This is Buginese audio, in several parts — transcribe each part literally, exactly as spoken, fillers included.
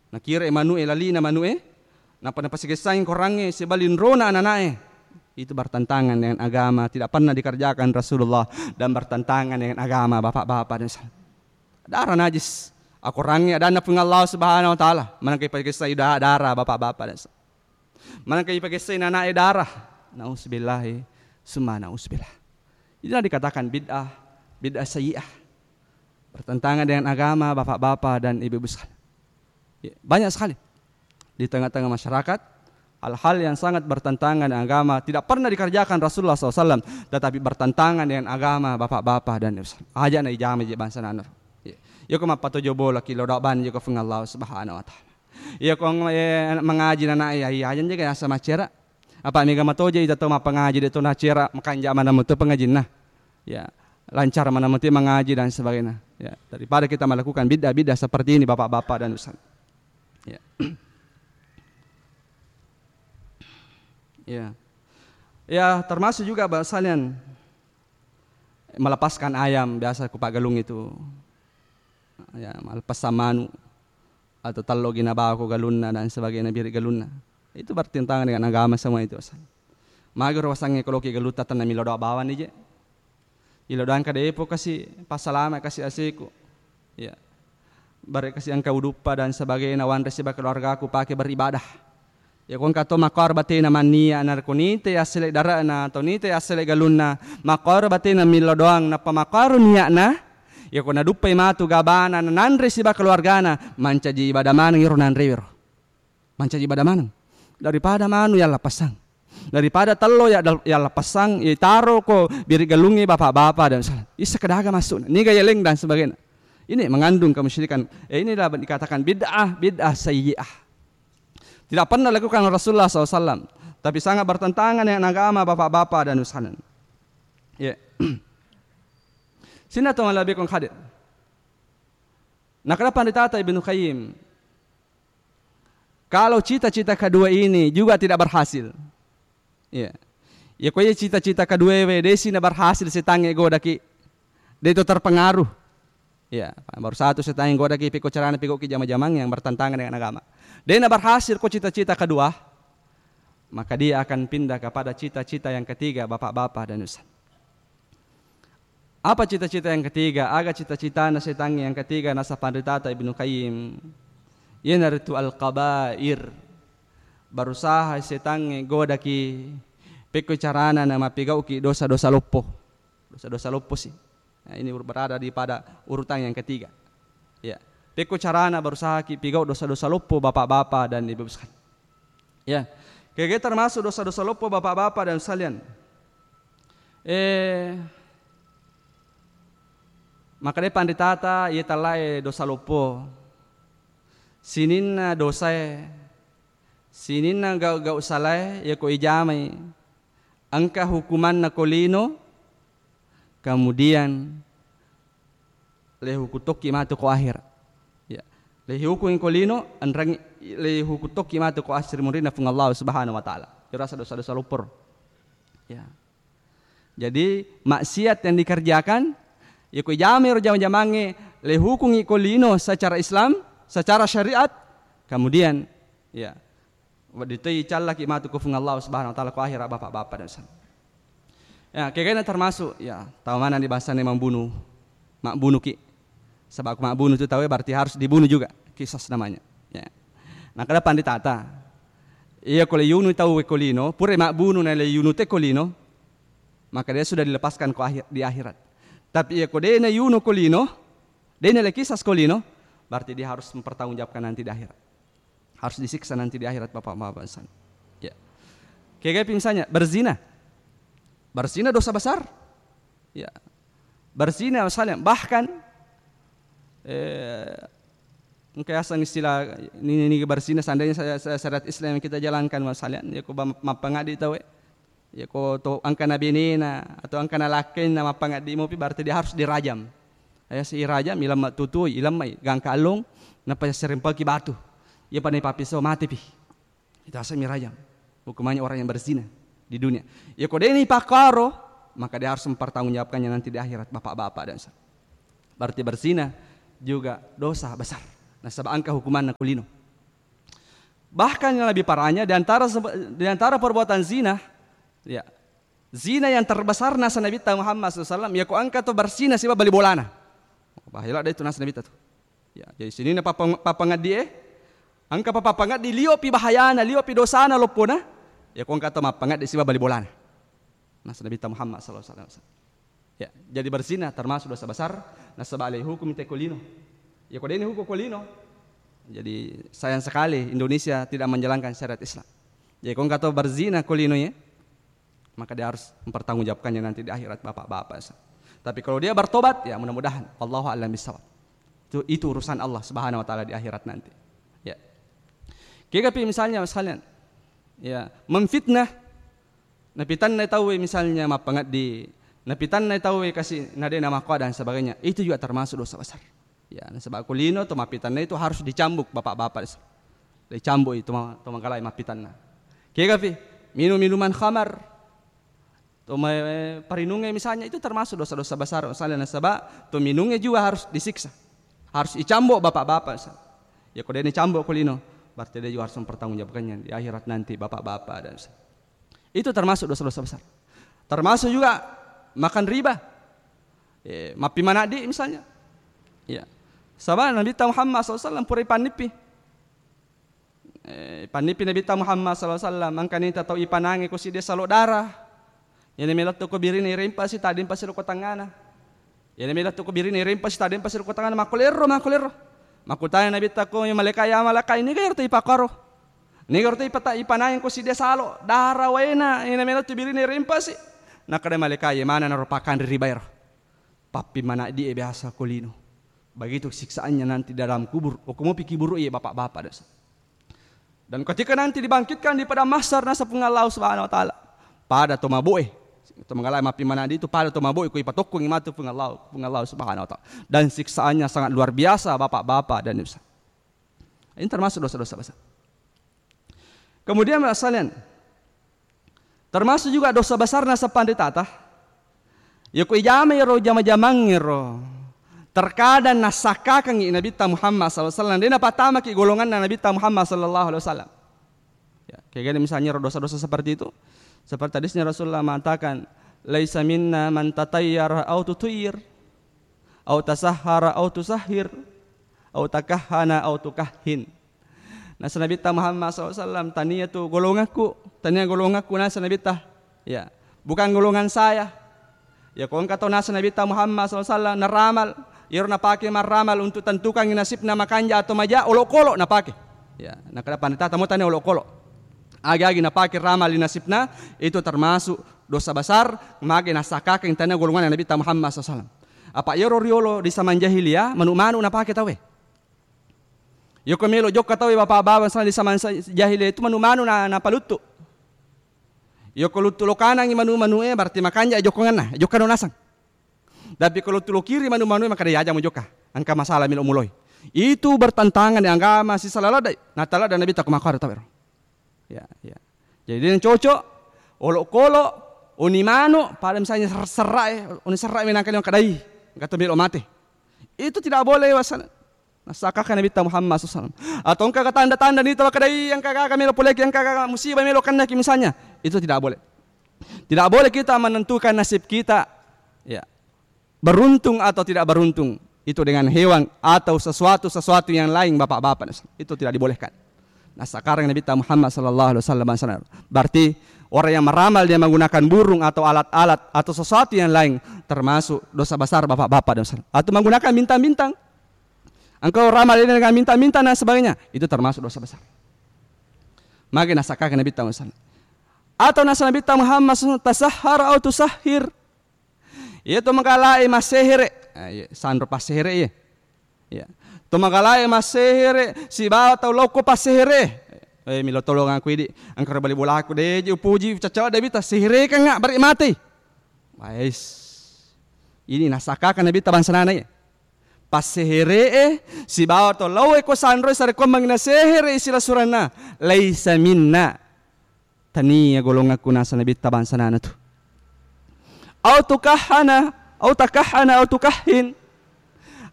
Nakira manu'e, lalina manu'e, nappa napasigessang korangnge sibawa linrona anana'e. Itu bertentangan dengan agama, tidak pernah dikerjakan Rasulullah dan bertentangan dengan agama, Bapak-bapak dan Ibu. Darah najis. Akorangnge adanna Puang Allah Subhanahu wa Ta'ala. Manengka ipagessai da-, darah, Bapak-bapak dan Ibu. Manengka ipagessai anana'e darah. Nauzubillahi summa nauzubillah. Itulah dikatakan bid'ah, bid'ah sayyi'ah. Bertentangan dengan agama, Bapak-bapak dan Ibu-ibu sekalian. Ya, banyak sekali di tengah-tengah masyarakat hal-hal yang sangat bertentangan dengan agama, tidak pernah dikerjakan Rasulullah sallallahu alaihi wasallam, tetapi bertentangan dengan agama, Bapak-bapak dan Ibu sekalian. Aja na ijama je bangsa nanaro. Ya. Yako mappatojo bola ki lodo ban yako Puang Allah Subhanahu wa Ta'ala. Yako, eh, mangaji nana, ya, iya aja je kaya asa macera. Apa mega matoja ita to mappangaji de to nacera, makanja mana mutu pengajinna. Ya, lancar mana mutu mangaji dan sebagainya. Ya, daripada kita melakukan bid'ah-bid'ah seperti ini, Bapak-bapak dan Ibu sekalian. Ya. Ya. Ya, termasuk juga, Bapak sekalian, melepaskan ayam biasa ku Pak Galung itu. Ya, melepas manu atau tello gi nabawa ko galunna dan sebagainya, birik galunna. Itu bertentangan dengan agama semua itu, Ustaz. Magaro wasangnge ko loki galutta tenna milo doa bawang ni je. Ilo doang kada epo kasi passalama kasi aseku. Ya. Bare kasi engka uduppa dan sebagainya, wanre siba keluargaku pake beribadah. Yako engka to makkoro batena manniya, narekko nite yassele dare'na atau nite yassele galunna, makkoro batena millo doang, nappa makkoro niatna, yako naduppai matu gabana nanre siba keluargana, mancaji ibadah maneng iro nanrewero. Mancaji ibadah maneng. Daripada manu yallappessang. Daripada tello ya dal-, yallappessang, itaro ko biri galungnge bapak-bapak dan salah. Isa kedaga masuk. Niga yeleng dan sebagainya. Ini mengandung kemusyrikan. Eh, inilah dikatakan bid'ah, bid'ah sayyi'ah. Tidak pernah lakukan Rasulullah sallallahu alaihi wasallam, tapi sangat bertentangan dengan agama bapak-bapak dan Ibu sekalian. Ya. Sina to malabikon hadir. Nakada panditata Ibnu Qayyim, kalau cita-cita kedua ini juga tidak berhasil, iya. Ya, ko iya cita-cita kedua we, desi na berhasil setangnge godaki, de to terpengaruh. Ya, baru satu setangnge godaki, piko carana piko ki jama-jamang yang bertentangan dengan agama. De na berhasil ko cita-cita kedua, maka dia akan pindah kepada cita-cita yang ketiga, bapak-bapak dan Ustaz. Apa cita-cita yang ketiga? Aga cita-citana setangnge yang ketiga, nasa panritata Ibnu Qayyim. Iyanaritu al-kabair. Berusaha setangnge godaki pekko carana na mapigauki dosa-dosa loppo. Dosa-dosa loppo sih. Nah, ini ur-, berada di pada urutan yang ketiga. Ya. Pekko carana berusaha ki pigau dosa-dosa loppo, bapak-bapak dan ibu sekalian. Ya. Kege termasuk dosa-dosa loppo, bapak-bapak dan sekalian. Eh, maka de panritata, iye talae dosa loppo. Sininna dosae, sininna gau-gau salae, yako ijamai, engka hukumanna ko lino, kemudian le huku tokki matu ko akhirat. Ya. Le hukungi ko lino, enrengi, le huku tokki matu ko asri murinna Puang Allah Subhanahu wa Ta'ala. Irasa dosa-dosa loppo. Ya. Jadi, maksiat yang dikerjakan, yako ijamai ro jama-jamangnge, le hukungi ko lino secara Islam, secara syariat, kemudian, ya, wedding toi callaki matu ko Puang Allah Subhanahu wa Ta'ala ko akhirat, bapak-bapak dan saudara. Ya, kegana termasuk, ya, tau mana di bahasanya membunuh, mabbunuki. Sebab ko mabbunuh itu tau, berarti harus dibunuh juga, kisas namanya. Ya. Nah, kada panditata. Iya ko le yunu tau ko lino, pura mabbunuh na le yunu te ko lino, maka dia sudah dilepaskan ko akhir, di akhirat. Tapi iya ko de na yunu ko lino, de na le kisas ko lino, berarti dia harus mempertanggungjawabkan nanti di akhirat. Harus disiksa nanti di akhirat, bapak-bapak sekalian. Ya. Kayak misalnya berzina. Berzina dosa besar. Ya. Berzina misalnya, bahkan, eh, engka yaseng istilah ini, ini berzina, seandainya saya, saya syariat Islam yang kita jalankan misalnya, ya ko ba-, mappangaddi tau, eh. Ya ko to engka na benena atau engka na lakkainna mappangaddi mopi, berarti dia harus dirajam. Aya si irajam, ilamma tutui, ilammai gangka allong, nappa serempaki batu. Iya pada papiso mati pi. Itu asalnya rajam. Hukumannya orang yang berzina di dunia. Ya ko deni pakaro, maka dia harus mempertanggungjawabkannya nanti di akhirat, bapak-bapak dan sa-, berarti berzina juga dosa besar. Nasaba engka hukumanna ko lino. Bahkan yang lebih parahnya, di antara sebe-, di antara perbuatan zina, ya, zina yang terbesar nasa Nabitta Muhammad sallallahu alaihi wasallam, ya ko engka to berzina siba bali bolana. Bahaya ladde itu nasa Nabitta tu. Ya, jadi sininna papang-, papangeddi e, engka pa-, papangeddi lio pi bahayana, lio pi dosana loppona, ya ko engka to mappangeddi siba bali bolana. Nasa Nabitta Muhammad sallallahu alaihi wasallam. Ya, jadi berzina termasuk dosa besar, nasaba alai hukum te ko lino. Ya ko deni hukum ko lino. Jadi sayang sekali Indonesia tidak menjalankan syariat Islam. Jadi ko engka to berzina ko lino ya, maka dia harus mempertanggungjawabkannya nanti di akhirat, bapak-bapak. Tapi kalau dia bertobat, ya mudah-mudahan. Allahu a'lam bishawab. Itu, itu urusan Allah Subhanahu wa taala di akhirat nanti. Ya. Kega pi misalnya, misalnya, ya, memfitnah, napitanna tauwe misalnya mappangeddi, napitanna tauwe kasi nadena makkoa dan sebagainya, itu juga termasuk dosa besar. Ya, nasaba ko lino to mappitanna itu harus dicambuk, bapak-bapak. Dicambuk itu ma-, to magalai mappitanna. Kega pi? Minum minuman khamar. To ma-, parinungnge misalnya itu termasuk dosa-dosa besar misalnya, nasaba to minungnge juga harus disiksa. Harus dicambuk, bapak-bapak. Ya ko deni cambuk ko lino, berarti dia juga harus mempertanggungjawabkannya di akhirat nanti, bapak-bapak dan Itu termasuk dosa-dosa besar. Termasuk juga makan riba. Eh, mappi manaddi misalnya. Ya. Saba Nabitta Muhammad sallallahu alaihi wasallam pura ipannippi. Eh, ipannippi Nabitta Muhammad sallallahu alaihi wasallam, engkani tau ipanangi ko siddi salo darah. Iyana melettu ko birine irempasi, taddempasi ro ko tangngana. Iyana melettu ko birine irempasi, taddempasi ro ko tangngana, makkulerro, makkulerro. Makkutana Nabitta ko malaika, ya malaika, ini gairo to ipakaro. Nigaro to ipata-, ipanangi ko siddi salo, dara waena, ina melo tu birine rempasi. Nakkeda malaika, ye mana naro pakanre ribaero. Pappi manaddi e biasa ko lino. Begitu siksaannya nanti dalam kubur. Okko mopi kiburu ye bapak-bapak desa. Dan ketika nanti dibangkitkan di padang mahsyar nasa Puang Allah Subhanahu wa Ta'ala, pada to maboe, to magalai mappi manaddi itu pada to maboe ko ipatokkongi matu Puang Allah, Puang Allah Subhanahu wa Ta'ala. Dan siksaannya sangat luar biasa bapak-bapak dan ibu. Ini termasuk dosa-dosa besar. Kemudian, Bapak sekalian, termasuk juga dosa besarna sepanritata, yako ijama ero jama-jamang ero, terkadang nassakakangi Nabitta Muhammad sallallahu alaihi wasallam, de napatamaki golonganna Nabitta Muhammad sallallahu alaihi wasallam. Ya, kayak gini misalnya ro dosa-dosa seperti itu. Seperti hadisnya Rasulullah mengatakan, "Laisa minna man tatayyara au tutuyir, au tasahhara au tusahhir, au takahhana au tukahhin." Nasa Nabitta Muhammad sallallahu alaihi wasallam, tania tu golongakku, tania golongakku nasa Nabitta. Ya, bukan golongan saya. Ya, ko engka tau nasa Nabitta Muhammad sallallahu alaihi wasallam naramal, iyaro napake marramal untuk tentukangi nasibna makanja atau maja, olokolo napake. Ya, nakkeda panritata mo tania olokolo. Agi-agi napake ramal di nasibna, itu termasuk dosa besar, mage nasakakeng tania golongan Nabitta Muhammad sallallahu alaihi wasallam. Apa iyaro riolo di zaman jahiliyah, manu-manu napake tauwe. Yoko melo jokka tauwe bapak-bapak misalnya di zaman sa-, jahiliyah itu manu-manu na, napaluttu. Yoko luttu lokanangi manu-manu e, berarti makanja jokkonganna, jokkano nasang. Tapi ko luttu lokiri manu-manu e, maka de aja mo jokka. Engka masalah melo muloi. Itu bertentangan dengan agama sisala ladde. Natala dan Nabi takko makaro tawero. Ya, ya. Jadi dia cocok, olokolo, oni manu, pada misalnya ser-, serra e, oni serra e menangkali kadai, kata melo mate. Itu tidak boleh wasana. Nasakaka Nabitta Muhammad sallallahu alaihi wasallam. Atau engka tanda-tanda nita wakadai, engka gaga melo poleki, engka gaga musibah melo kennaki misalnya. Itu tidak boleh. Tidak boleh kita menentukan nasib kita, ya, beruntung atau tidak beruntung. Itu dengan hewan atau sesuatu-sesuatu yang lain, bapak-bapak. Itu tidak dibolehkan. Nah, sekarang Nabitta Muhammad sallallahu alaihi wasallam sana. Berarti orang yang meramal dia menggunakan burung atau alat-alat atau sesuatu yang lain termasuk dosa besar bapak-bapak dan saudara. Atau menggunakan bintang-bintang. Engkau ramal ini dengan minta-minta dan sebagainya, itu termasuk dosa besar. Maka nasakaka Nabitta Muhammad. Atau nasa Nabitta Muhammad sallallahu alaihi wasallam tasahhar au tusahhir. Iya to magalae massehere. Ah, iya, sanro passehere iya. Iya. To magalae massehere sibawa tau lokko passehere. Eh, milo tolong aku idi. Engkara bali bolaku de upuji cacau de bita seherekeng bari mati. Wais. Ini nasakaka Nabitta bangsa nana iya. Passehere'e sibawa to laoe ko sanroe sarekkuammengngi nasehere'i silasuranna, laisa minna. Tania golongakku nasa Nabitta bangsa nana tu. Au tukahhana, au takahhana, au tukahhin.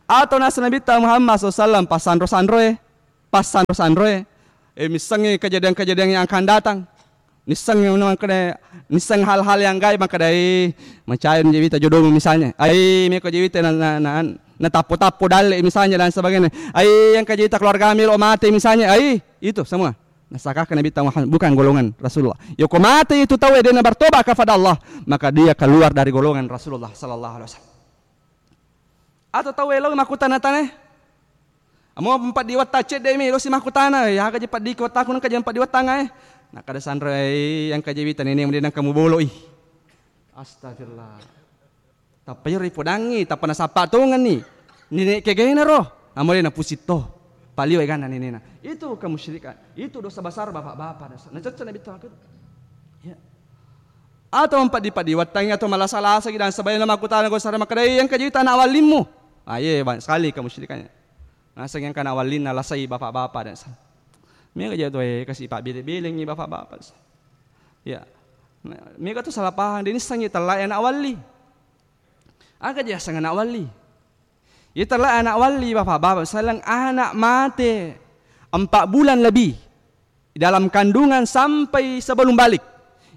Atau nasa Nabitta Muhammad sallallahu alaihi wasallam passanro-sanroe, passanro-sanroe. Eh, missengngi kejadian-kejadian yang akan datang. Missengngi anu makkeda, misseng hal-hal yang gaib makkeda, eh, macai je wita jodomu misalnya. Ai, meko je wita na, na, na, natappo-tappo dalle misalnya dan sebagainya. Ai, yang kejadian keluarga melo mate misalnya. Ai, itu semua. Nasakaka Nabi Muhammad bukan golongan Rasulullah. Yoko mate itu tau dena bertobat kepada Allah, maka dia keluar dari golongan Rasulullah sallallahu alaihi wasallam. Atau tau elo makkutana-tana. Amo empat di watta cedde mi lo si makkutana, ya aga je paddi ko takun ka je empat di watta ngai. Nah, kada sanro, eh, yang kaje wita nene mudi nang kamu bolo ih. Astagfirullah. Tappa iyaro ipodangngi, tappa nasappa tongenni. Nene kegena ro. Amole na pusitto. Paliwa ganna nenena. Itu kemusyrikan. Itu dosa besar bapak-bapak. Nacecce Nabi Muhammad. Ya. Atau empat di padi wattangi atau malasa-lasa dan sebagainya makkutana ko sare makkeda, "Eh, yang kaje wita anak walimmu." Ah, iya, banyak sekali kemusyrikannya. Naseng yang kana walinna lasai bapak-bapak dan sa-, mega jatuh, eh, kasih pak bele-belengi bapak-bapak. Ya. Nah, mega tuh salah paham. Dia ini sangi telai anak wali. Aga je aseng anak wali. Iya telai anak wali bapak-bapak. Saleng anak mate empat bulan lebih dalam kandungan sampai sebelum balik.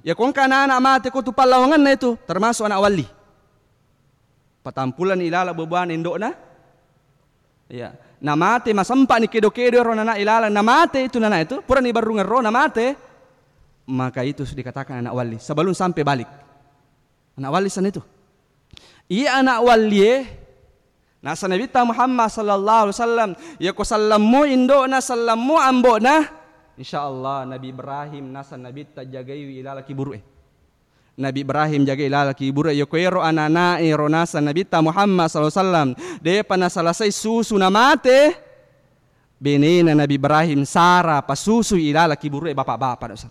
Ya kongka anak-anak mate ko tu pallawangenna itu termasuk anak wali. Patampulani ilala buah-buahan indokna. Ya, namate masempa ni kedo-kedo ro nana ilala, namate itu nana itu, purani barrungan ro namate, maka itu dikatakan anak wali sebelum sampai balik. Anak wali sana itu. Iya anak wali eh, nasa Nabi ta Muhammad sallallahu alaihi wasallam, ya ko sallammu indokna, sallammu ambokna, insya Allah Nabi Ibrahim nasa Nabi ta jagaiwi ilala kiburu eh. Nabi Ibrahim jaga ilala kiburu, yoko ero ananae ro nasa Nabitta Muhammad sallallahu alaihi wasallam depa nasalasai susu namate, benena Nabi Ibrahim Sara pasusu ilala kiburu e bapa-bapa dosa.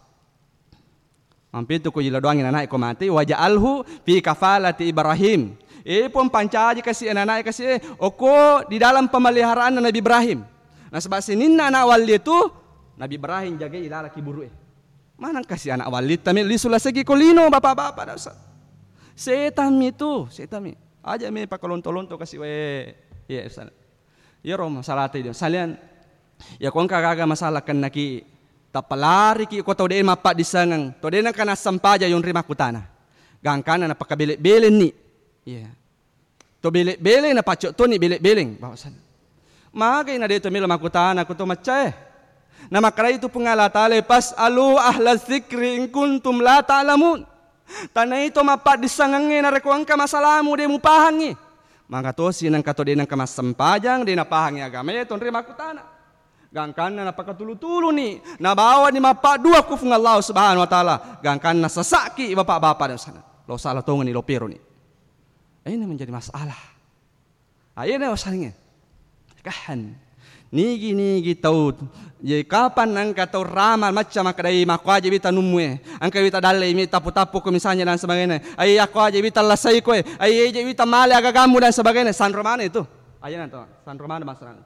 Mampitu ko jila doangi nanae ko mate, waja'alhu fi kafalati Ibrahim. E pun pancaji kasi ananae kasi e, oko di dalam pemeliharaan Nabi Ibrahim. Nasaba sininna anak walli tu Nabi Ibrahim jaga ilala kiburu e. Maneng kasi anak wallitta mi lisu lasegi ko lino bapa-bapa da Ustaz. Setan mi tu, setan mi. Aja mi pakalonto-lonto kasi wae. Iya Ustaz. Iyaro masalata idi. Salian ya ko engka gaga masalah kennaki tappa lariki ko tau de mappaddissengeng, tau de nengka nassempajang yonri makkutana. Gangkanna napakabele-belenni. Iya. To bele-bele na pacco toni bele-beleng bahwasana. Magai na de to melo makkutana ko to maccae. Na makkeda itu Puang Allah Taala, "Fas'alu ahla dzikri in kuntum la ta'lamun." Tanai to mappaddissengengnge narekko engka masalamu de mupahangngi. Maka tosi nengka to de nengka massempajang, de napahangngi agamae tonri makkutana. Gangkanna napakatulu-tuluni, nabawani mappaddua ku Puang Allah Subhanahu wa Taala. Gangkanna sasaki bapa-bapa dan sana. Lo salah tongeni, lo peroni. Ini menjadi masalah. Aye na wasalinge. Kahan. Nigi-nigi tau, ye kapan engka tau ramal macca makkedai makko aje wita nummu e. Engka wita dalle mi tappu-tappu ko misalnya dan sebagainya. Aye akko aje wita lasai koe. Aye je wita male agagammu dan sebagainya. Sanro mana itu? Aye na to, sanro mana masalah.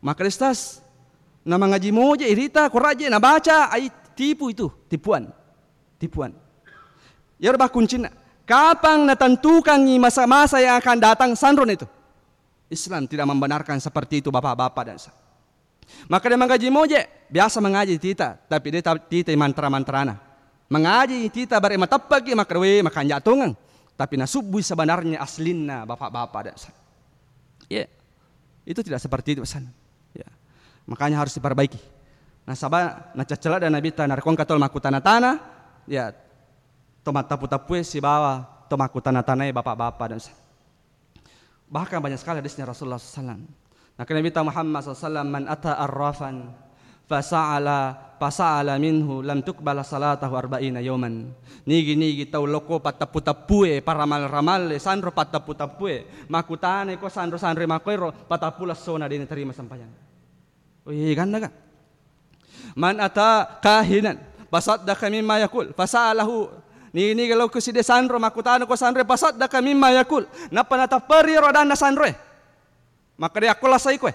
Maka Ustaz, na mangaji moje irita, koraje nabaca, ai tipu itu, tipuan. Tipuan. Iyaro bakkuncinna. Kapang natentukangi masa-masa yang akan datang, sanro itu. Islam tidak membenarkan seperti itu bapak-bapak dan sa-, maka dia mangaji moje, biasa mangaji tita, tapi dia ta-, tita mantra-mantrana. Mangaji tita bare mateppaki, maka we makanja tongeng. Tapi nasubbui sebenarnya aslinna bapak-bapak dan sa-, ya. Itu tidak seperti itu pesan. Ya. Makanya harus diperbaiki. Nasaba nacaccelada Nabitta narekko engka tau makkutana-tana, ya, to mattappu-tappue sibawa to makkutana-tanae bapa-bapa dan sa-, bahkan banyak sekali hadisnya Rasulullah sallallahu alaihi wasallam. Nah, Nabitta Muhammad sallallahu alaihi wasallam, "Man ata arrafan fasa'ala, fasa'ala minhu lam tuqbala salatahu arba'ina yauman." Nigi-nigi tau lokko pattappu-tappue, paramal-ramalle, sanro pattappu-tappue, makkutana ko sanro-sanro makkoiro, patappulo essona de naterima sempajang. Wih, ganna ga? Man ata kahinan fasaddaqa mimma yaqul, fasalahu. Nigi-nigi lokko side sanro, makkutana ko sanro, fasaddaqa mimma yaqul. Nappa natapperi ro adanna sanroe. Makkeda akko lasai koe.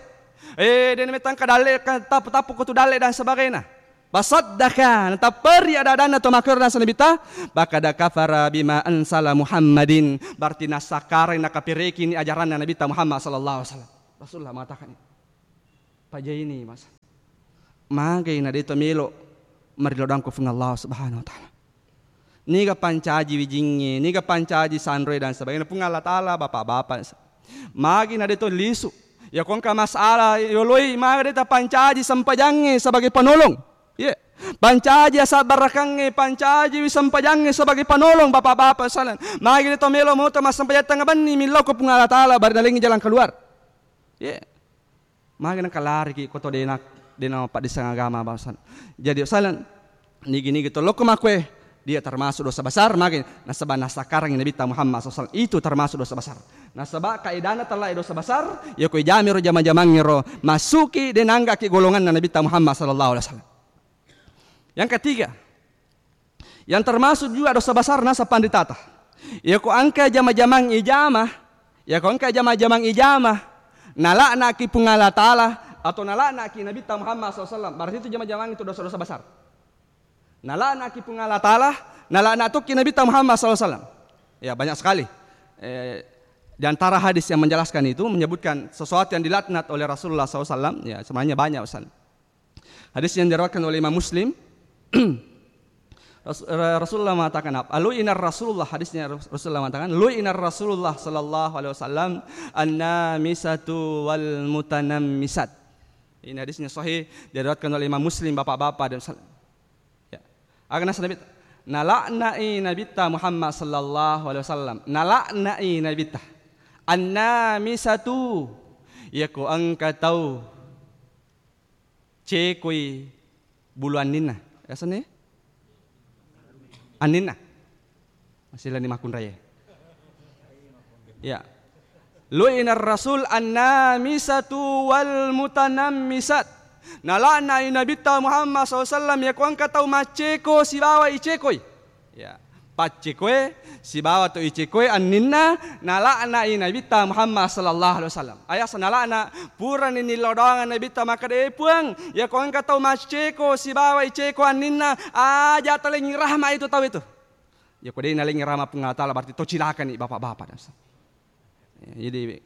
Eh, dena metang ka dalle, ka tappu-tappu ko tu dalle dan sebagainya. Fasaddaqa, natapperi ada-adanna to makkero dan sanabita, faqad kafara bima anzala Muhammadin. Berarti nasakkarai, nakaperekini ajaranna Nabitta Muhammad sallallahu alaihi wasallam. Rasulullah mengatakan ini. Pajaini, Mas. Magai na de to melo marilodang ko Puang Allah Subhanahu wa Ta'ala. Niga pancaji wijingnge, niga pancaji sanroe dan sebagainya. Puang Allah Ta'ala, bapak-bapak, magi na de to lisu. Ya ko engka masalah yoloi, maga de ta pancaji sempajangnge sebagai penolong. Iya. Pancaji asabbarakangnge, pancaji wi sempajangnge sebagai penolong, bapak-bapak sekalian. Magi de to melo moto massempajang tengnga benni, millau ko Puang Allah Ta'ala, bari nalengi jalan keluar. Iya. Magi nengka lariki ko to dena, dena mappaddisseng agama bangsa. Jadi, salan, nigi-nigi to lokko makkue, dia termasuk dosa besar, magi nasaba nasakkarangi Nabitta Muhammad sallallahu alaihi wasallam. Itu termasuk dosa besar. Nasaba kaedana tellae dosa besar, ya ko ijamiro jama-jamangngero, masuki de nanggaki golonganna Nabitta Muhammad sallallahu alaihi wasallam. Yang ketiga, yang termasuk juga dosa besar nasa panditata. Iya ko engka jama-jamang ijama, iya ko engka jama-jamang ijama, nala'naki Puang Allah Ta'ala atau nala'naki Nabitta Muhammad sallallahu alaihi wasallam, berarti itu jama-jamang itu dosa-dosa besar. Nala'naki Puang Allah Ta'ala, nala'na tokki Nabitta Muhammad sallallahu alaihi wasallam. Ya, banyak sekali. Eh, di antara hadis yang menjelaskan itu, menyebutkan sesuatu yang dilaknat oleh Rasulullah sallallahu alaihi wasallam, ya, sebenarnya banyak, Ustaz. Hadis yang diriwayatkan oleh Imam Muslim. Ras-, Ra-, Rasulullah mengatakan apa? Lu'inar Rasulullah, hadisnya Ras-, Rasulullah mengatakan, "Lu'inar Rasulullah sallallahu alaihi wasallam an-namisatu wal mutanammisat." Ini hadisnya sahih, diriwayatkan oleh Imam Muslim, bapak-bapak dan sal-, ya. Aga nasa Nabi, nala'nai Nabitta Muhammad sallallahu alaihi wasallam. Nala'nai Nabitta. An-namisatu. Iya ko engka tau cekoi bulu anninna. Yasenna? Anninna. Masih lani makkunraie. Ya. Lu'inar Rasul an-namisatu wal mutanammisat. Nala'nai Nabitta Muhammad sallallahu alaihi wasallam, ya ko engka tau macceko sibawa icekoi. Ya. Paccekoe sibawa to icekoe anninna, nala'nai Nabitta Muhammad sallallahu alaihi wasallam. Ayasa nala'na, purani nilodongeng Nabitta makkeda, "E Puang, ya ko engka tau macceko sibawa iceko anninna, aja talengi rahma itu tau itu." Ya ko de nalengi rahma Puang Allah Ta'ala, berarti to cilakani bapak-bapak dan sa-, Ya, jadi,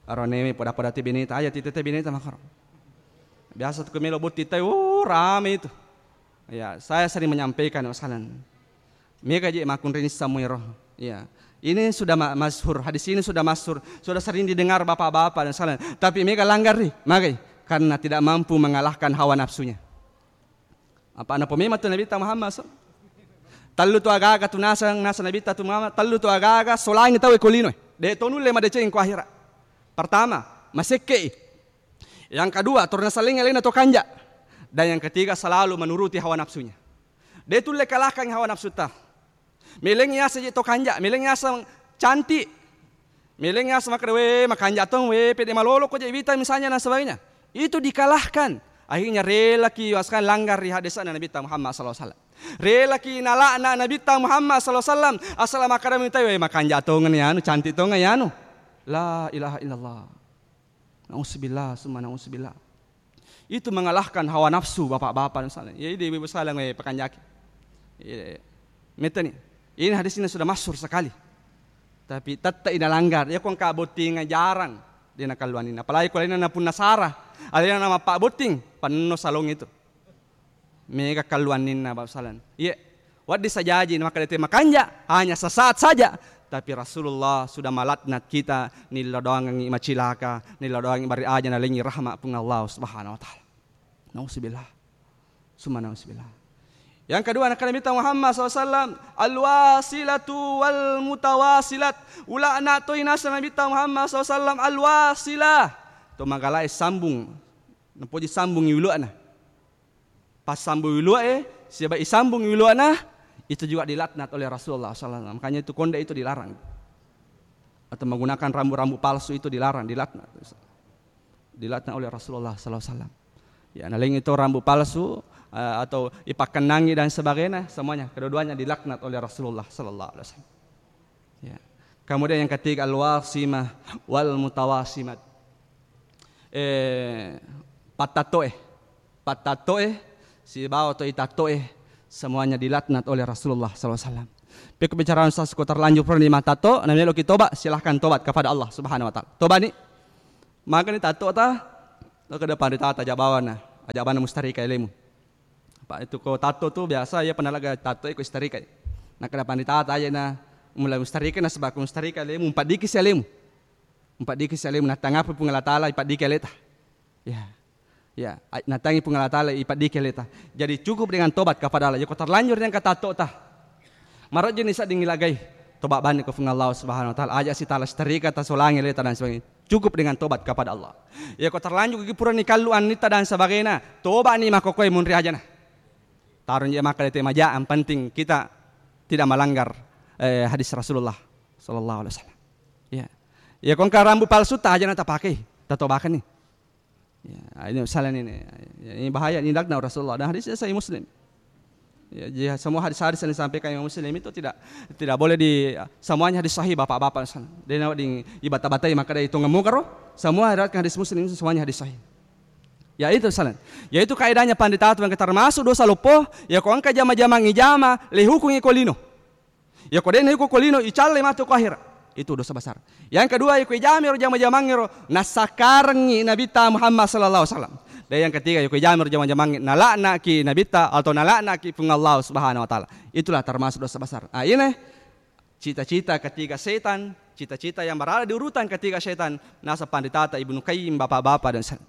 aro newe pada-pada te bineta, aja tite te bineta makaro. Biasa tu melo botting tai, oh, rame itu. Ya, saya sering menyampaikan masalah. Mega je makkunrai nisseng muiro. Ya. Ini sudah ma-, masyhur, hadis ini sudah masyhur, sudah sering didengar bapak-bapak dan sekalian. Tapi mega langgar ri, magai? Karena tidak mampu mengalahkan hawa nafsunya. Apa napo memang tu Nabitta Muhammad so? Tellu tu agaga tu naseng, naseng Nabitta tu Muhammad, tellu tu agaga solangi tau ko lino. De to nulle madeceng ko akhirat. Pertama, masekke. Yang kedua, torna salengi alena to kanja. Dan yang ketiga, selalu menuruti hawa nafsunya. De tulle kalahkan hawa nafsuta. Meleng yaseng je to kanja, meleng yaseng cantik. Meleng yaseng makkeda, "We, makanja tong, we, pede malolo ko je wita," misalnya dan sebagainya. Itu dikalahkan. Akhirnya relaki waskang langgar ri hadesana Nabitta Muhammad sallallahu alaihi wasallam. Relaki nalakna Nabitta Muhammad sallallahu alaihi wasallam. Asal makkeda mitai, "We, makanja tong ni anu, cantik tong ni anu." La ilaha illallah. Nauzubillah, summa nauzubillah. Itu mengalahkan hawa nafsu, bapak-bapak dan sekalian. Ya, ini ibu-ibu sekalian, eh, pakanjaki. Iya. Meta ni. Ini hadis ini sudah masyhur sekali. Tapi tetap ina langgar. Ya, ko engka botting jarang dia nakalluanina. Apalagi ko alena napunna sara, alena namappa botting, penno salong itu. Mega kalluanninna, Bapak Salan. Iya, wedding sajaji makkedete makanja, hanya sesaat saja. Tapi Rasulullah sudah melaknat kita, nillodoangengngi macilaka, nillodoangengngi bari aja nalengi rahmat Puang Allah Subhanahu wa Ta'ala. Nauzubillah. Summa nauzubillah. Yang kedua, nakkeda Nabitta Muhammad sallallahu alaihi wasallam, "Al-wasilatu wal mutawasilat." Ulakna toi naseng Nabitta Muhammad sallallahu alaihi wasallam, al-wasilah. To magalae sambung. Napoji sambung iuluana. Pas sambung iuluae, siaba isambung iuluana, itu juga dilaknat oleh Rasulullah sallallahu alaihi wasallam. Makanya itu konde itu dilarang. Atau menggunakan rambut-rambut palsu itu dilarang, dilaknat. Dilaknat oleh Rasulullah sallallahu alaihi wasallam. Ya, nalengi itu rambut palsu, eh, atau ipakkenangi dan sebagainya, semuanya, kedua-duanya dilaknat oleh Rasulullah sallallahu alaihi wasallam. Ya. Kemudian yang ketiga, al-wasimah wal mutawasimat. Eh, pattattoe. Pattattoe, sibawa to itattoe, semuanya dilaknat oleh Rasulullah sallallahu alaihi wasallam. Pekko bicara sasku terlanjur pernah di matatto, na meloki tobat, silahkan tobat kepada Allah Subhanahu wa Ta'ala. Tobat ni, magani tatto ta, lo ke depan di tata jabawana. Aja' bana mustarika alemu. Apa' itu ko tatto tu biasa iya penalaga tatto iko istarikai. Nakkeda panritata aja' na mulai mustarika nasaba' ko mustarika alemu, umpaddiki si alemu. Umpaddiki si alemu, nattangapi Puang Allah Taala ipaddiki aleta. Ya. Ya, a-, nattangi Puang Allah Taala ipaddiki aleta. Jadi cukup dengan tobat kepada Allah. Yako terlanjur yang katattota. Marojjeni sedding ilagai. Tobat bani ko Puang Allah Subhanahu wa Taala. Aja' si tala setrika, tasolangi aleta dan sebagainya. Cukup dengan tobat kepada Allah. Yako terlanjur ki purani kallu annitta dan sebagainya. Tobat ni makkokkoe munri ajana. Tarung je maka dete maja, yang penting kita tidak melanggar, eh, hadis Rasulullah sallallahu alaihi wasallam. Ya. Ya, ko engka rambu palsu ta aja' na tapakai, tatobakan ni. Ya, ini salah ini. Ya, ini bahaya, ini laknat Rasulullah. Dan hadisnya Sahih Muslim. Ya, jadi semua hadis-hadis yang disampaikan Imam Muslim itu tidak, tidak boleh di, semuanya hadis sahih, bapak-bapak. Dia nawa di ibata-batai maka dia hitung mungkar. Semua riwayatkan hadis Muslim itu semuanya hadis sahih. Ya, itu salah. Yaitu kaidahnya pandita tu yang termasuk dosa loppo, ya ko engka jama-jamang ijama, le hukungi ko lino. Yako dena iko ko lino, icalle matu ko akhirat. Itu dosa besar. Yang kedua, iko ijami ro jama-jamangngero, nasakarengngi Nabitta Muhammad sallallahu alaihi wasallam. Dan yang ketiga, iko ijami ro jama-jamangngero, nalaknaki Nabitta atau nalaknaki Puang Allah Subhanahu wa Taala. Itulah termasuk dosa besar. Ah, ini cita-cita ketiga setan, cita-cita yang berada di urutan ketiga setan, nasa panditata Ibnu Qayyim, bapak-bapak dan sen-,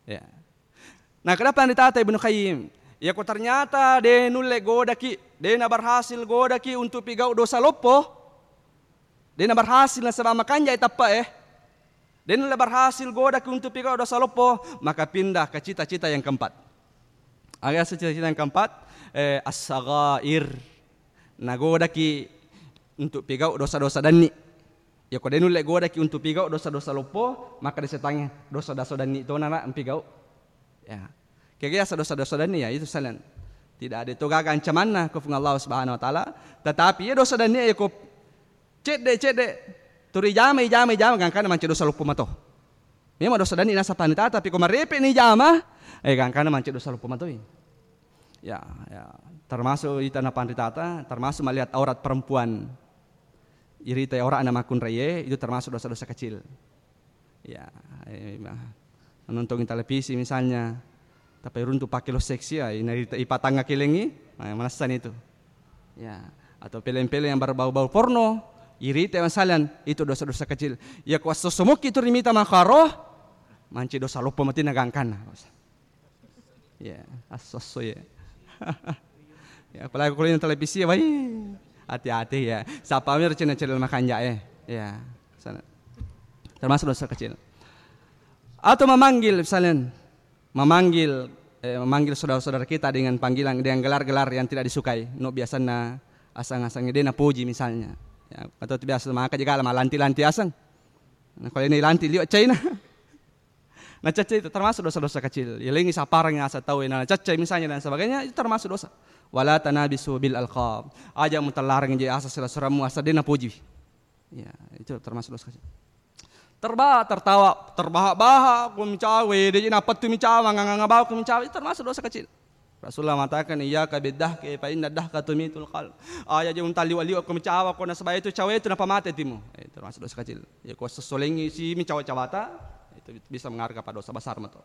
Ya. Nah, kenapa ditata Ibnu Qayyim? Yako ternyata de nulle godaki, de na berhasil godaki untuk pigau dosa loppo, de na berhasil nasaba makanjai teppa, eh. De nulle berhasil godaki untuk pigau dosa loppo, maka pindah ke cita-cita yang keempat. Aga cita-cita yang keempat, eh, as-saghair. Nagodaki untuk pigau dosa-dosa danni. Yako de nulle godaki untuk pigau dosa-dosa loppo, maka de setangnge dosa-dosa danni tona na mpigau. Ya. Kega yasa dosa-dosa danni, ya itu salen. Tidak ada to gaga ancamanna ko Puang Allah Subhanahu wa Taala. Tetapi ya dosa danni yako cedde-cedde turi jama, jama, jama, gangkana mancaji dosa loppo mato. Memang dosa danni nasa panritata, tapi ko marepe ni jama, eh, gangkana mancaji dosa loppo matoi. Ya, ya, termasuk ita na panritata, termasuk melihat aurat perempuan. Irita auratna makkunraie, itu termasuk dosa-dosa kecil. Ya, eh, ma-, menonton televisi misalnya, tapi runtu pakai lo seksi, ya, ina irita ipatangga kelengi, ma-, manessani itu. Ya, atau film-film yang berbau-bau porno, irita masalan, itu dosa-dosa kecil. Ya, kuasso somoki itu rimita makaro, manci dosa loppo mati na gangkana. Ya, asso-asso ya. Ya, apalagi kalau ini televisi ya, wai. Hati-hati ya. Siapa mir channel-channel makanja, eh. Ya, sana. Termasuk dosa kecil. Atau memanggil misalnya, memanggil, eh, memanggil saudara-saudara kita dengan panggilan, dengan gelar-gelar yang tidak disukai. No biasana asang-asang de napuji misalnya. Ya, atau biasa maka juga malanti-lanti asang. Nah, kalau ini lanti liwat China. Nacacca itu termasuk dosa-dosa kecil. Yalengi saparang asa tau na nacacca misalnya dan sebagainya, itu termasuk dosa. Wala tanabisu bil alqab. Aja mutallareng je asa sila-, surammu asa de napuji. Ya, itu termasuk dosa kecil. Terba-, tertawa, terbahak-bahak, ku micawa, de je napettu micawa, nganga-nganga bau ku micawa, itu termasuk dosa kecil. Rasulullah mengatakan, "Iyyaka biddahki, fa inna dahka tumitul qalb." Aja je unta liwa-liwa ko micawa ko nasaba itu cawa itu napamate atimu. Eh, termasuk dosa kecil. Ya ko sessolengi si micawa-cawata, itu bisa mengarah kepada dosa besar mato.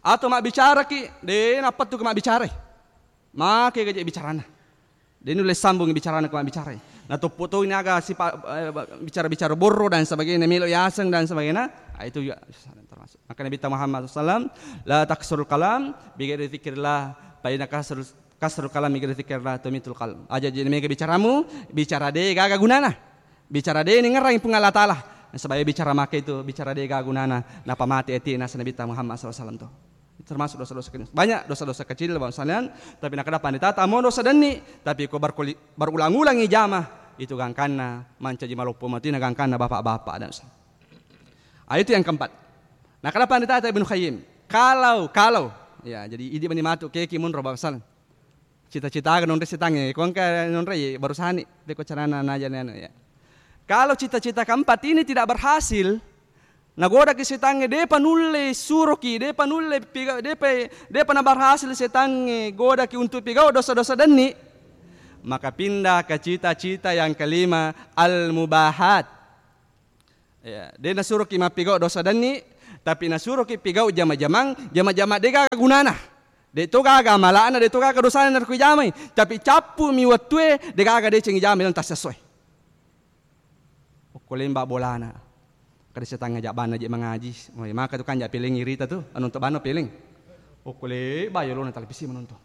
Atau mabbicara ki, de napettu ko mabbicara. Make gaje bicarana. De nulle sambung bicarana ko mabbicara. Na toppo to ini aga sipa-, eh, bicara-bicara borro dan sebagainya, melo yaseng dan sebagainya. Ah, itu juga termasuk. Maka Nabi Muhammad sallallahu alaihi wasallam, "La taksirul kalam bi ghairi dzikrillah, fa inna kasrul, kasrul kalam bi ghairi dzikrillah tumitul qalb." Aja je mega bicaramu, bicara de gaga gunana. Bicara de ni ngerang Puang Allah Taala. Sebab bicara make itu, bicara de gaga gunana, napamate ati nasa Nabi Muhammad sallallahu alaihi wasallam to. Termasuk dosa-dosa kecil. Banyak dosa-dosa kecil, Bapak sekalian, tapi nakada pandita tamo dosa danni, tapi ko berkuli-, berulang-ulang ijama, itu gangkanna mancaji maloppo matina gangkanna bapak-bapak dan sa-, ah, itu yang keempat. Nah, kenapa ditata Ibnu Qayyim? Kalau, kalau, ya, jadi idi mani matu keki munro bangsal. Cita-cita aga nonre setangnge, ko engka nonre, ya, baru sani, beko carana najani anu, ya. Kalau cita-cita keempat ini tidak berhasil, nagodaki setangnge, depa nulle suroki, depa nulle piga-, depa, depa naberhasil setangnge godaki untuk pigau dosa-dosa denni, maka pindah ke cita-cita yang kelima, al-mubahat. Ya, de nasuroki mappigau dosa denni, Tapi nasuroki pigau jama-jamang, jama-jama de'gaga gunana. De' to gaga amala'na, de' to gaga dosana narekko ijamai. Tapi cappumi wettue, de'gaga deceng ijamai lalang tassessoe. Okko lemba bolana. Kada setang aja bana je mangaji. Woi, maka tu kan ja peleng irita tu, anonto bano peleng. Okko le ba yolona televisi manonton.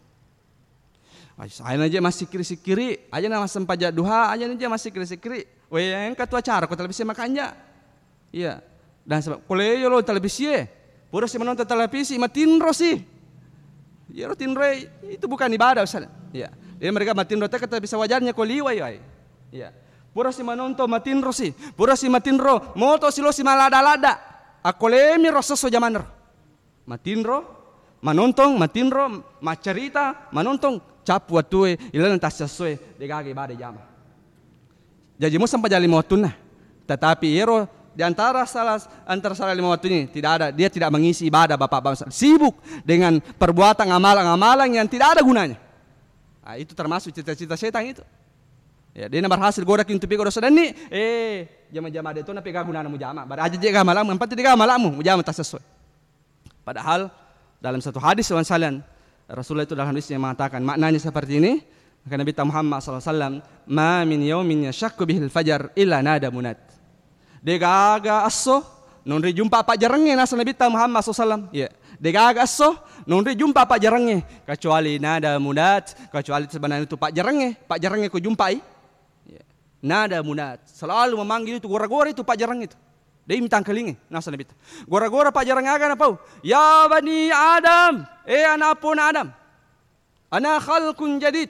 Ai, saena je massikkiri-sikkiri, aja na massempajang duha, aja na je massikkiri-sikkiri. Woi, engka tu acara ko televisi makanja. Iya. Dan sebab ko le yolo televisie, pura si menonton televisi, matinro si. Yero tinroe itu bukan ibadah, Ustaz. Iya. Jadi mereka matinro teka tapi sawajarnya ko liwai, ai. Iya. Pura si menonton matinro si, pura si matinro moto si lo si malada-lada. Akko lemi ro sesso jamanro. Matinro, manontong, matinro, maccarita, manontong, cappu wettue, ilalenna tassessoe, de'gaga ibadah jama. Jaji mussempajang lima wettunna. Tetapi iyero di antara salah, antara salah lima wettu ini tidak ada, dia tidak mengisi ibadah, Bapak-bapak. Sibuk dengan perbuatan amalan-amalan yang tidak ada gunanya. Ah, itu termasuk cita-cita setan itu. Ya, dia berhasil goda ki untuk pigau dosa denni, eh, jama-jama de' to na pega gunana mujama. Bara aja je ga malamu, yang penting de' ga malamu, mujama tassessoe. Padahal dalam satu hadis, wan salian, Rasulullah itu dalam hadisnya mengatakan, maknanya seperti ini, kata Nabi Muhammad sallallahu alaihi wasallam, "Ma min yaumin yashaqqu bihil fajar illa nada munad." De'gaga esso nonri jumpa pajjarengnge, nasa Nabi Muhammad sallallahu alaihi wasallam. Iya. De'gaga esso nonri jumpa pajjarengnge kecuali nada munad, kecuali sebenarnya itu pajjarengnge, pajjarengnge ko jumpai. Iya. Nada munad, selalu memanggil itu, gora-gora itu pajjarengnge itu. De' mitangkalingi, nasa Nabi. Gora-gora pajjareng aga napau? "Ya bani Adam, eh anak pona Adam. Ana khalqun jadid."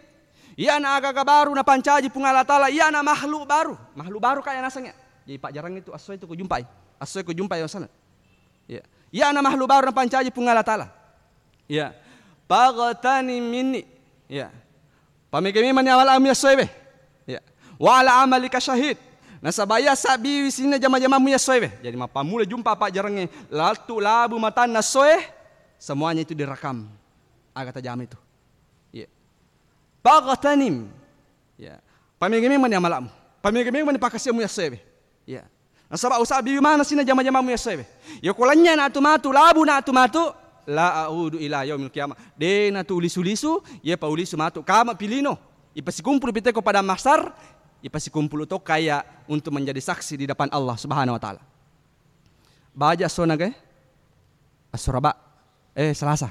Iyana aga-aga baru napancaji Puang Allah Taala, iyana makhluk baru. Makhluk baru kaya naseng ya. Jadi pajjareng itu esso itu kujumpai. Esso kujumpai masalah. Ya. Iyana makhluk baru napancaji Puang Allah Taala. Ya. Paghtanim minni. Ya. Pamege memang ni amala'mu yassoe be. Ya. Wa ala amalika syahid. Nasaba iya sabbiwi sininna jama-jamamu yassoe be. Jadi mappammula jumpa pajjarengnge, lattu labu matanna essoe, semuanya itu direkam. Aga tajama itu. Iya. Paghtanim. Ya. Pamege memang ni amala'mu. Pamege memang ni pakasiamu yassoe be. Ya. Nasaba usabbiwi maneng sininna jama-jamamu yassoe be. Yako lanynya na tu matu, labu na tu matu, la a'udu ila yaumil qiyamah. De' na tu ulisu-lisu, iya pa ulisu matu. Kama pilino. Ipasikumpulu piteko pada mahsar, ipasikumpulu to kaya untuk menjadi saksi di depan Allah Subhanahu wa Ta'ala. Baja esso naga e? Esso Raba. Eh, Salasa.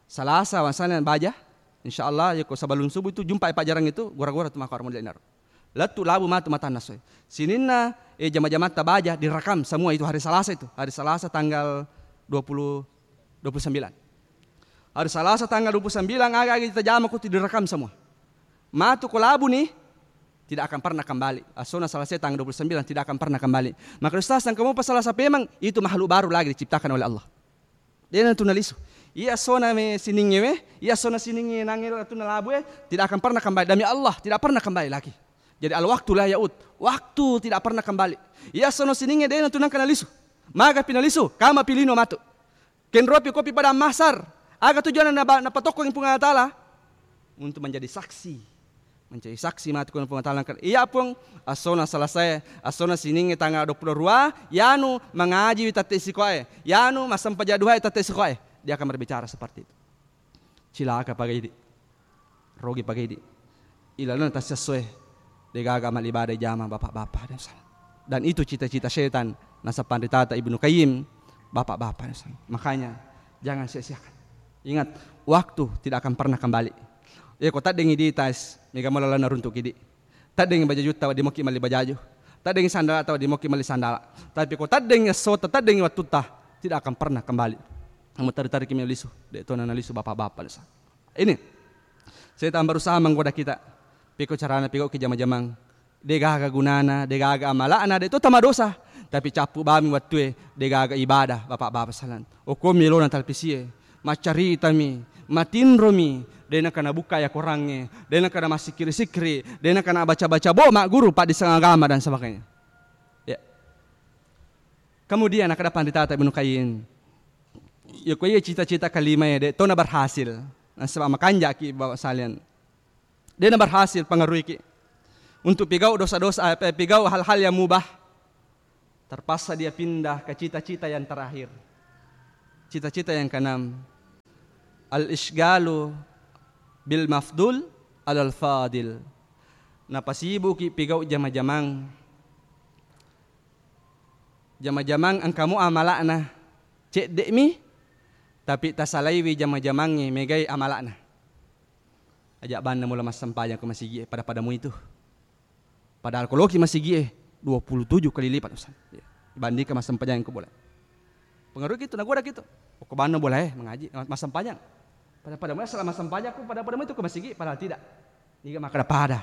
Salasa wasana baja. Insyaallah, yako sebelum subuh itu jumpa pajjareng itu, gora-gora tu maka orang model naro. Lettu labu matu matanna essoe. Sininna, eh, jama-jamatta baja direkam semua itu hari Salasa itu. Hari Salasa tanggal dua puluh, dua puluh sembilan. Hari Salasa tanggal dua puluh sembilan, aga-aga tajama ko tu direkam semua. Matu ko labu ni, tidak akan pernah kembali. Essona Salasa tanggal dua puluh sembilan tidak akan pernah kembali. Maka Ustaz, yang kamu pasal Salasa pemang, itu makhluk baru lagi diciptakan oleh Allah. De' na tu nalisu. Iya essona me siningnge we, iya essona siningnge nangnge tu nalabu e, tidak akan pernah kembali. Demi Allah, tidak pernah kembali lagi. Jadi al-waqtu la ya'ud. Waktu tidak pernah kembali. Iya essona siningnge de' na tu nangka nalisu. Maga pi nalisu, kama pilino matu. Kenropi kopi pada mahsar. Aga tujuanna naba-, napatokkongi Puang Allah Taala? Untuk menjadi saksi. Menjadi saksi matu ko Puang Allah Taala. Iya Puang, essona Salasa e, essona siningnge tanggal dua puluh dua, yanu mangaji wi tette sikoe, yanu massempajang duha tette sikoe. Dia akan berbicara seperti itu. Cilaka pagaidi. Rogi pagaidi. Ilalenna tassessoe, de'gaga amal ibadah jama bapak-bapak dan saudara. Dan itu cita-cita setan, nasa panritata Ibnu Qayyim, bapak-bapak dan saudara. Makanya, jangan sia-siakan. Ingat, waktu tidak akan pernah kembali. Iya, ko taddengi di tas, mega mala lana runtuk kidi. Taddengi bajajutta, wedding mokki melli bajaju. Taddengi sandalata, wedding mokki melli sandala. Tapi ko taddengi essota, taddengi wettutta, tidak akan pernah kembali. Kamu tarik-tarik kami lisu, de' tona nalisu bapak-bapak dan saudara. Ini setan berusaha menggoda kita. Piko carana piko ki jama-jamang. De'gaga gunana, de'gaga amala'na, de' to tamadosa. Tapi cappu bami wettue, de'gaga ibadah, bapak-bapak salan. Okko melona talpisie, maccaritami, matinromi, de' naka nabukka ya korangnge, de' naka namassikkiri-sikkiri, de' naka nabaca-baca bo magguru paddisseng agama dan sebagainya. Ya. Kemudian, akkeda panritata Ibnu Qayyim, iya ko iya cita-cita kalimae de' tona berhasil. Nasaba makanjaki bawa salian. De' na berhasil pengaruhiki untuk pigau dosa-dosa, eh, pigau hal-hal yang mubah. Terpaksa dia pindah ke cita-cita yang terakhir. Cita-cita yang keenam. Al-isyghalu bil mafdul alal fadil. Napasibuki pigau jama-jamang. Jama-jamang engkamu amala'na cedde'mi, tapi tasalaiwi jama-jamangnge megai amala'na. Aja banna mula massempajang ko masigi'e pada-pada muitu. Padahal ko loki masigi'e dua puluh tujuh kali lipat, Ustaz. Ya. Dibandingkan massempajang ko bola. Pengaruh gitu, nagoda gitu. Oh, ko banna bola, eh, mengaji, mas-, massempajang. Pada-pada muitu asal massempajang ko pada-pada muitu ko masigi, padahal tidak. Niga makkeda pada.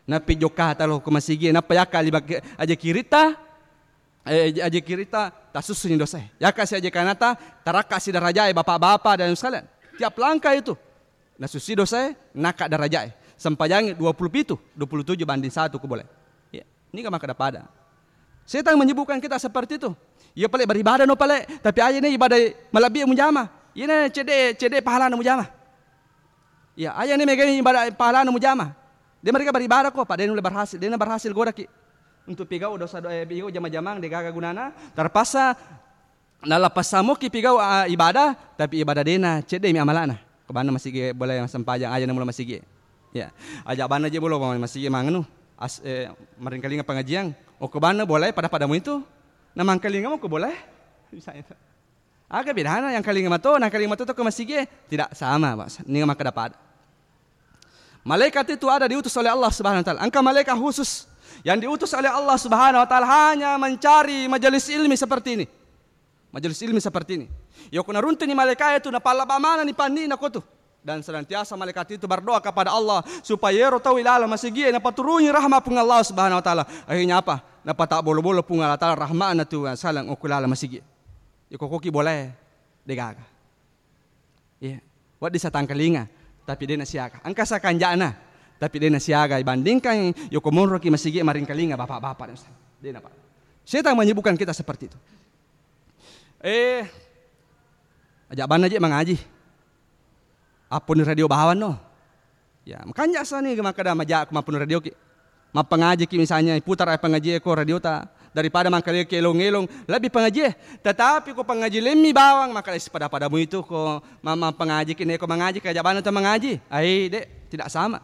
Nappi jokka talo ko masigi, nappa yakka lima ke-, aja kirita, eh, aja kirita, tasusuni dosae. Yakka si aja kanata, tarakka si darajae bapak-bapak dan sekalian. Tiap langkah itu, nasusui dosae, nakka darajae. Sempajangi dua puluh pitu, dua puluh tujuh banding satu ko bola. Ya, niga makkeda pada. Setan menyibukkan kita seperti itu. Iya pale beribadah no pale, tapi aja ni ibadah malebbi mujama. Iya ni cedde, cedde pahala no mujama. Iya, aja ni megai ibadah pahala no mujama. Dia mereka beribadah ko, pada nulle berhasil, dia berhasil godaki. Untuk pigau dosa do-, eh, pigau jama-jamang, de gaga gunana, terpaksa nala passamoki pigau, ah, ibadah, tapi ibadah dena, cedde mi amalana. Ko banna masigi boleh sempajang, aja ni mula masigi. Ya, aja banna je bolo masigi manganu, as-, eh, maringkalinga pengajian. Oh, ko banna boleh pada-pada muitu. Na mangkalinga mo ko boleh. Misalnya. Aga bedana yang kalinga mato, na kalinga mato to ke masigi, tidak sama, Pak. Ini makkeda pada. Malaikat itu ada diutus oleh Allah Subhanahu wa Ta'ala. Engka malaikat khusus yang diutus oleh Allah Subhanahu wa Ta'ala hanya mencari majelis ilmi seperti ini. Majelis ilmi seperti ini. Yoko naruntuni malaikat itu, napallaba mana ni panni na kotu. Dan senantiasa malaikat itu berdoa kepada Allah supaya ero tau ilala masigi napaturungi rahmat Puang Allah Subhanahu wa Ta'ala. Akhirnya apa? Napata bolo-bolo Puang Allah Ta'ala rahmatna tu salang okko ilala masigi. Yoko koki boleh degaga. Iya. Wedding satangkalinga, tapi dena siaga. Engka sakanjana, tapi dena siaga. Bandingkan yoko monroki masigi maringkalinga bapak-bapak dan ustaz. Dena, Pak. Setan menyibukkan kita seperti itu. Eh, aja banna je mangaji. Apponi radio bawang no. Ya, makanja sani makkeda maja ko mappuni radio ki. Mappangaji ki misalnya, putar ai pangaji ko radio ta. Daripada mangkali ki elong-elong, lebih pangaji. Tetapi ko pangaji lemmi bawang, maka pada-pada muitu ko ma-, mappangaji ki, neko mangaji, kaja bana to mangaji. Ai, dek, tidak sama.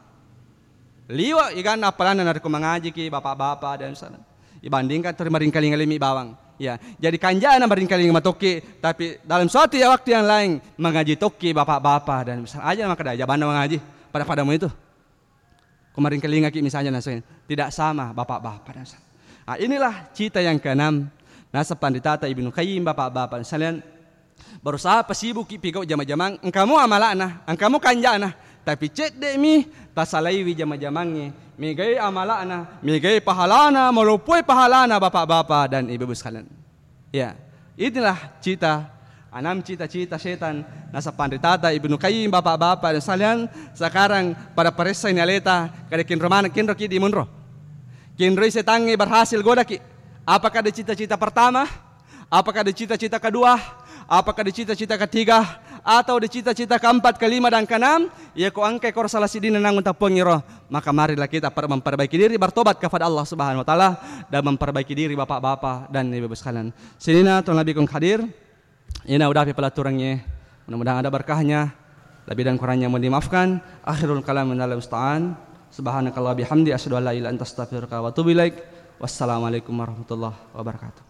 Liwa iganna appalanna narekko mangaji ki bapak-bapak dan sana. Ibandingkan teri maringkalinga lemmi bawang. Ya, jadi kanjana maringkalinga matokki, tapi dalam suatu ya waktu yang lain mangaji tokki bapak-bapak dan misalnya aja maka aja bana mangaji pada-pada muitu. Ko maringkalingaki misalnya naseng, tidak sama bapak-bapak dan sa-, ah, inilah cita yang keenam. Naseng Panritata Ibnu Qayyim, bapak-bapak sekalian, berusaha pasibuki pigau jama-jamang, engkamu amalana, engkamu kanjana, tapi cedde'mi tasalaiwi jama-jamangnge, megai amalana, megai pahalana, maloppoi pahalana bapak-bapak dan ibu-ibu sekalian. Ya, inilah cita, enam cita-cita setan. Naseng Panritata Ibnu Qayyim, bapak-bapak dan sekalian, sekarang pada paressani aleta, kada kinro mana, kinro ki di munro. Kinroi setangnge berhasil godaki. Apakah di cita-cita pertama? Apakah di cita-cita kedua? Apakah di cita-cita ketiga? Atau di cita-cita keempat, kelima, dan keenam? Iya ko engkai koro salah sidina nang utappuangiro. Maka marilah kita per-, memperbaiki diri, bertobat kepada Allah Subhanahu wa Ta'ala, dan memperbaiki diri bapak-bapak dan ibu-ibu sekalian. Sininna to nabi kong hadir, ina udapi pelaturangnge. Mudah-mudahan ada berkahnya. Lebih dan kurangnya mohon dimaafkan. Akhirul kalam minal musta'an. Subhanakallah bihamdi, asyhadu an la ilaha illa anta, astaghfiruka wa atubu ilaik. Wassalamualaikum warahmatullahi wabarakatuh.